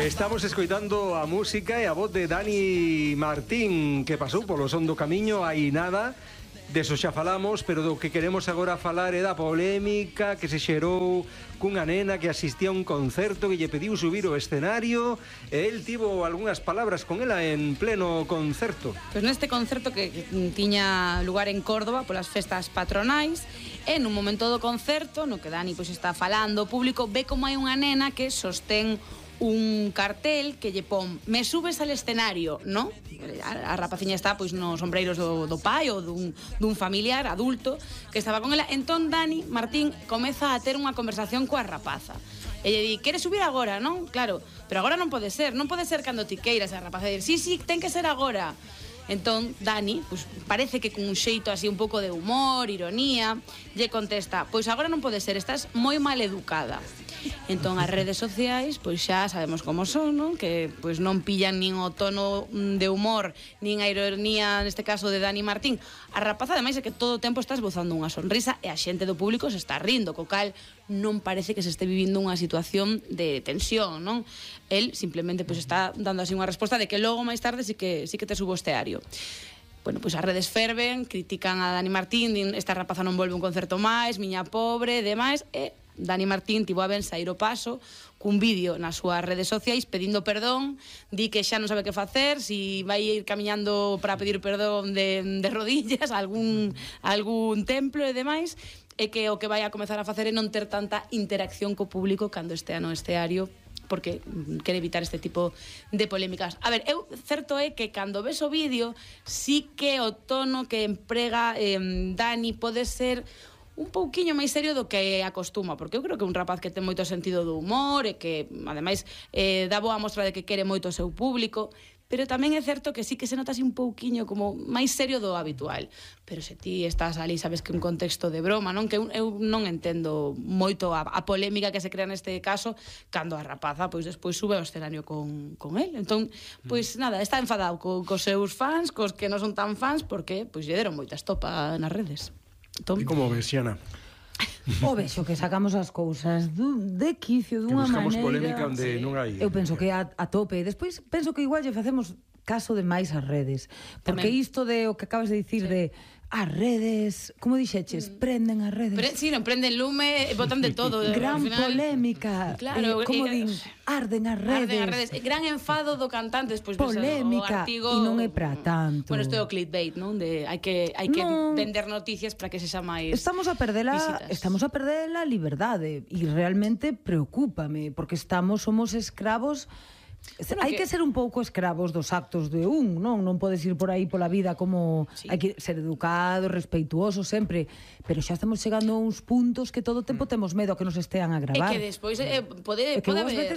Estamos escoitando a música e a voz de Dani Martín, que pasou polo son do camiño hai nada. Deso xa falamos, pero do que queremos agora falar é da polémica que se xerou cunha nena que asistía a un concerto que lle pediu subir ao escenario e el tivo algunhas palabras con ela en pleno concerto. Pois neste concerto que tiña lugar en Córdoba polas festas patronais, e nun momento do concerto no que Dani pois está falando ao público, ve como hai unha nena que sostén un cartel que lle pon "Me subes al escenario", ¿no? A rapaciña está pois nos sombreiros do pai ou dun familiar adulto que estaba con ela. Entón Dani Martín comeza a ter unha conversación coa rapaza. E lle di, "Queres subir agora, non?" Claro, pero agora non pode ser cando ti queiras. A rapaza di, "Sí, ten que ser agora." Entón Dani, pois parece que con un xeito así un pouco de humor, ironía, lle contesta, "Pois agora non pode ser, estás moi mal educada." Entón as redes sociais, pois xa sabemos como son, non? Que pois non pillan nin o tono de humor, nin a ironía, neste caso de Dani Martín. A rapaza ademais é que todo o tempo está esbozando unha sonrisa e a xente do público se está rindo, co cal non parece que se este vivindo unha situación de tensión, non? El simplemente pois está dando así unha resposta de que logo máis tarde sí que te subo ao esteario. Bueno, pois as redes ferven, critican a Dani Martín, din, esta rapaza non volve un concerto máis, miña pobre, demais, e Dani Martín tivo a ben sair o paso cun vídeo nas súas redes sociais pedindo perdón, di que xa non sabe que facer, si vai ir camiñando para pedir perdón de rodillas a algún templo e demais, e que o que vai a comezar a facer é non ter tanta interacción co público cando estea no esteario, porque quere evitar este tipo de polémicas. A ver, certo é que cando ves o vídeo, sí que o tono que emprega Dani pode ser un pouquiño máis serio do que acostuma, porque eu creo que é un rapaz que ten moito sentido do humor e que, ademais, dá boa mostra de que quere moito o seu público, pero tamén é certo que sí que se nota así un pouquiño como máis serio do habitual. Pero se ti estás ali, sabes que é un contexto de broma, non? Que eu non entendo moito a polémica que se crea neste caso cando a rapaza, pois, despois sube ao escenario con el. Entón, pois, nada, está enfadado cos seus fans, cos que non son tan fans, porque, pois, lle deron moita estopa nas redes. E como ves, Xiana? O vexo que sacamos as cousas de quicio dunha maneira. Que buscamos polémica onde non hai. Eu penso que a tope. Despois penso que igual lle facemos caso de máis as redes. Porque isto de o que acabas de dicir de as redes, como dixeches, prenden as redes. Si, non prenden lume, botan de todo. Gran polémica. Claro, como din, arden as redes. Gran enfado do cantante, despois polémica, o artigo. E non é para tanto. Bueno, isto é o clickbait, non? De hai que vender noticias para que sexa máis Estamos a perder a liberdade e realmente preocúpame, porque somos escravos. Hai que ser un pouco escravos dos actos de non podes ir por aí pola vida como hai que ser educado, respeituoso sempre, pero xa estamos chegando a uns puntos que todo o tempo temos medo a que nos estean a gravar. E que despois pode haber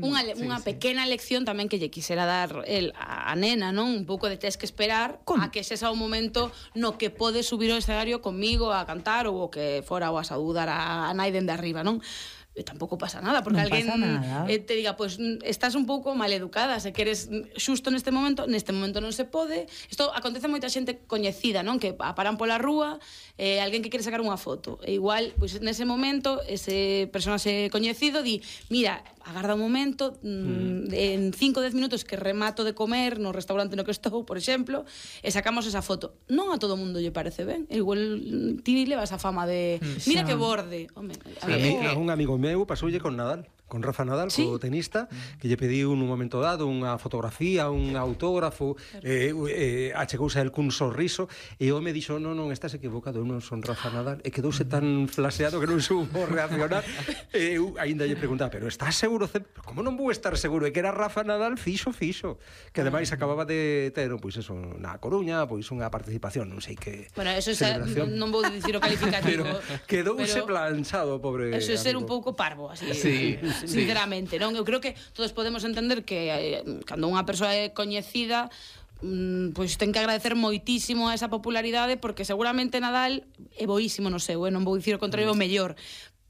unha pequena lección tamén que lle quixera dar a nena, non? Un pouco de tes que esperar a que sexa o momento no que podes subir ao escenario comigo a cantar ou o que fora ou a saudar a nai dende arriba, non? Tampouco pasa nada, porque alguén te diga, pois estás un pouco mal educada, se queres xusto neste momento non se pode. Isto acontece moita xente coñecida, non? Que paran pola rúa, alguén que quere sacar unha foto, e igual, pois nese momento ese personaxe coñecido di, mira, agarda un momento, en 5-10 minutos que remato de comer no restaurante no que estou, por exemplo, e sacamos esa foto. Non a todo mundo lle parece ben, igual ti levas a fama de mira que borde. Home, un amigo meu pasoulle con Nadal, con Rafa Nadal, co tenista, que lle pediu nun momento dado unha fotografía, un autógrafo, achegouse a el cun sorriso, e o me dixo, non, estás equivocado, eu non son Rafa Nadal, e quedouse tan flaseado que non supo reaccionar. Eu ainda lle preguntaba, pero estás seguro? Como non vou estar seguro? E que era Rafa Nadal fixo, que ademais acababa de ter, pois eso, na Coruña, pois unha participación, non sei que. Bueno, eso non vou dicir o calificativo. Pero quedouse planchado, pobre. Eso é ser un pouco parvo, así. Sí. Sinceramente, non? Eu creo que todos podemos entender que cando unha persoa é coñecida, pois ten que agradecer moitísimo a esa popularidade, porque seguramente Nadal é boísimo no seu, non vou dicir o contrario, o mellor,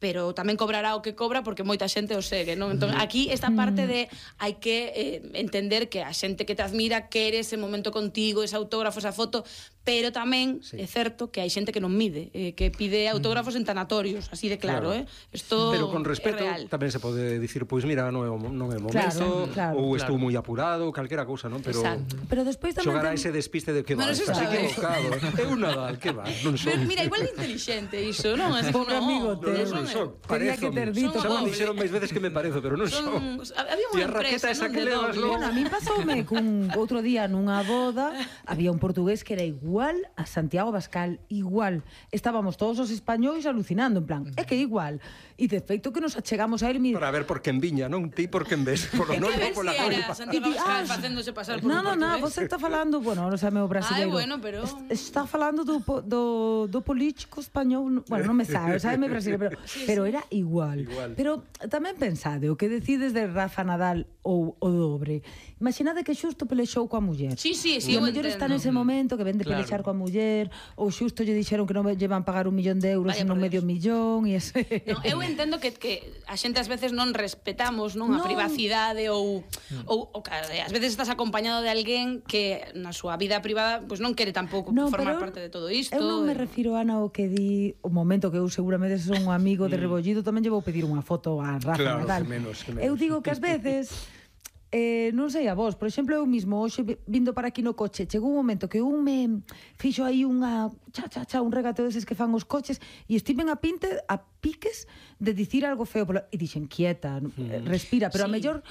pero tamén cobrará o que cobra porque moita xente o segue, non? Entón, aquí esta parte de hai que entender que a xente que te admira quere ese momento contigo, ese autógrafo, esa foto, pero tamén é certo que hai xente que non mide, que pide autógrafos en tanatorios, así de claro, Isto pero con respeto tamén se pode dicir, pois mira, non é o momento, ou estou moi apurado, calquera cousa, non? Pero despois tamén xogar a ese despiste de que va, estás equivocado. É un Nadal, que va, non son. Mira, igual de inteligente iso, non? Pobre amigo teu. Non son, Tenía que ter dito. Xa me dixeron máis veces que me parezo, pero non son. Había unha empresa, esa non? que levas, Bueno, a mí pasoume cun outro día nunha boda, había un portugués que era igual a Santiago Abascal, igual. Estábamos todos os españois alucinando, en plan, é que igual. E de feito que nos achegamos a él, para ver por quen viña, non? Ti por quen ves, polo non, pola coipa. Santiago Abascal facéndose pasar por un portugués. Non, você está falando, bueno, non sabe o brasileiro. Bueno, pero está falando do político español, bueno, non me sabe brasileiro, pero era igual. Pero tamén pensade, o que decides de Rafa Nadal ou o dobre. Imaginade que xusto pelexou coa muller. Sí, e o mellor está nese momento que ven de pelexar coa muller, ou xusto lle dixeron que non lle van pagar 1 millón de euros, sino medio millón, e ese... Eu entendo que a xente ás veces non respetamos, non, a privacidade ou ás veces estás acompañado de alguén que na súa vida privada pois non quere tampouco formar parte de todo isto. Eu non me refiro, Ana, ao que di o momento que eu seguramente son un amigo de rebollido, tamén lle vou pedir unha foto a Rafa Nadal. Eu digo que ás veces non sei a vos, por exemplo, eu mismo hoxe vindo para aquí no coche, chegou un momento que un me fixo aí unha un regateo deses que fan os coches e estiven a piques de dicir algo feo e dixen, quieta, respira, pero a mellor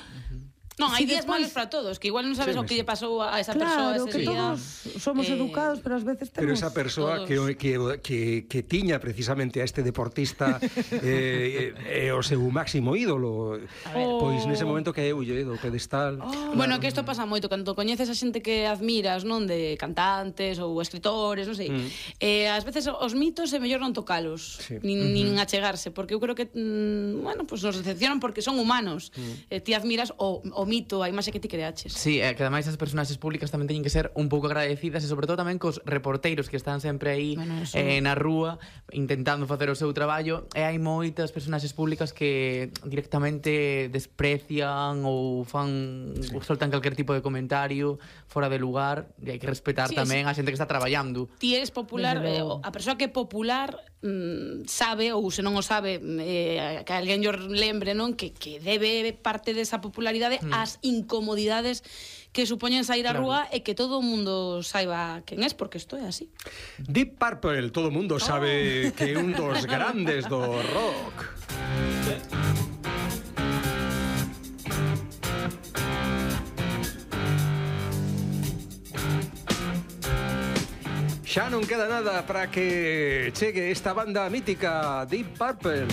non, hai días malos para todos, que igual non sabes o que lle pasou a esa persoa ese día. Claro, que todos somos educados, pero ás veces temos... Pero esa persoa que tiña precisamente a este deportista o seu máximo ídolo, pois nese momento que eulle do pedestal. Bueno, que isto pasa moito, cando coñeces a xente que admiras, non, de cantantes ou escritores, non sei, ás veces os mitos é mellor non tocalos, nin achegarse, porque eu creo que, bueno, pues nos decepcionan porque son humanos. Ti admiras o mito, a imaxe que ti creaches. Sí, que ademais as personaxes públicas tamén teñen que ser un pouco agradecidas e sobre todo tamén cos reporteiros que están sempre aí na rúa intentando facer o seu traballo, e hai moitas personaxes públicas que directamente desprecian ou soltan calquer tipo de comentario fora de lugar, e hai que respetar tamén a xente que está traballando. Ti eres popular, a persoa que é popular sabe, ou se non o sabe, que alguén lle lembre, non, que debe parte desa popularidade as incomodidades que supoñen sair á rúa e que todo o mundo saiba quen es, porque isto é así. Deep Purple, todo o mundo sabe que é un dos grandes do rock. Xa non queda nada para que chegue esta banda mítica Deep Purple.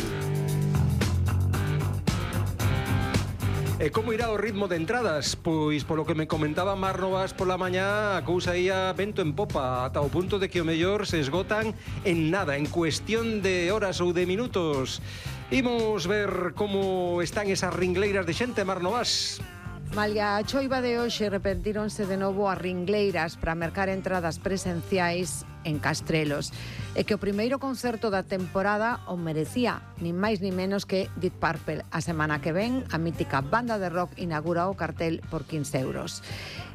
E como irá o ritmo de entradas? Pois polo que me comentaba Mar Novas pola mañá, a cousa ia vento en popa, ata o punto de que o mellor se esgotan en nada, en cuestión de horas ou de minutos. Imos ver como están esas ringleiras de xente, Mar Novas. Malia a choiva de hoxe, repetíronse de novo as ringleiras para mercar entradas presenciais en Castrelos. E que o primeiro concerto da temporada o merecía, nin máis nin menos que Deep Purple. A semana que ven, a mítica banda de rock inaugura o cartel por 15 euros.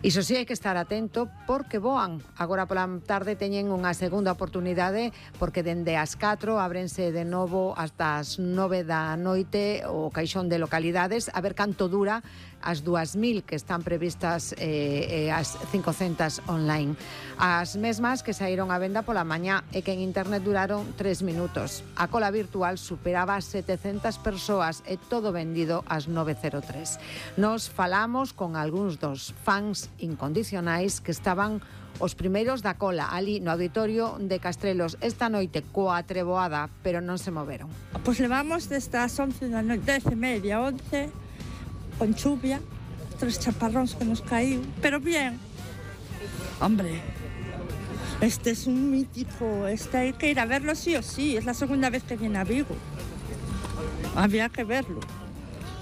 Iso sí, hai que estar atento porque voan. Agora pola tarde teñen unha segunda oportunidade porque dende as 4 ábrense de novo hasta as 9 da noite o caixón de localidades, a ver canto dura as 2.000 que están previstas e as 500 online. As mesmas que saíron a venda pola mañá e que en internet duraron 3 minutos. A cola virtual superaba 700 persoas e todo vendido ás 9:03. Nos falamos con algúns dos fans incondicionais que estaban os primeiros da cola ali no auditorio de Castrelos esta noite coa treboada, pero non se moveron. Pois levamos desde as 11 da noite, 10:30, 11, con chuvia, 3 chaparróns que nos caíu, pero bien. Hombre, este es un mítico, este hay que ir a verlo sí o sí, es la segunda vez que viene a Vigo. Había que verlo,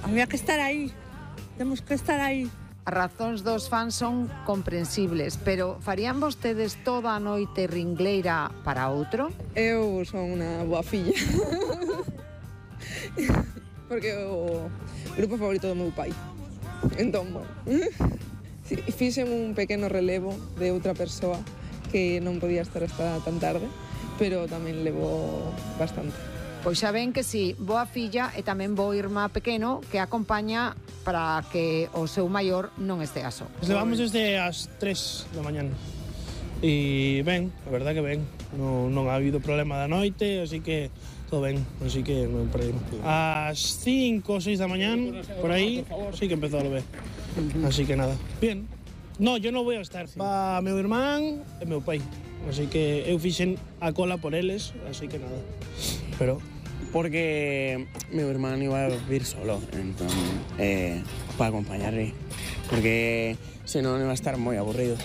había que estar aí, temos que estar aí. As razóns dos fans son comprensibles, pero farían vostedes toda a noite ringleira para outro? Eu son unha boa filla. Porque o grupo favorito do meu pai. Entón, bueno, fixen un pequeno relevo de outra persoa que non podía estar hasta tan tarde, pero tamén levo bastante. Pois xa ven que si, boa filla e tamén bo irmá pequeno que acompaña para que o seu maior non estea só. Levamos desde as 3 da mañana. E ben, a verdad que ben. Non ha habido problema da noite, así que todo ben, así que non perdimos. Ás 5 ou 6 da mañán, por aí, sí que empezou a llover. Así que nada, bien. No, yo non vou a estar. Va meu irmán e meu pai. Así que eu fixen a cola por eles, así que nada. Pero... Porque meu irmán iba a vir solo, entón, para acompañarle. Porque senón iba a estar moi aburrido.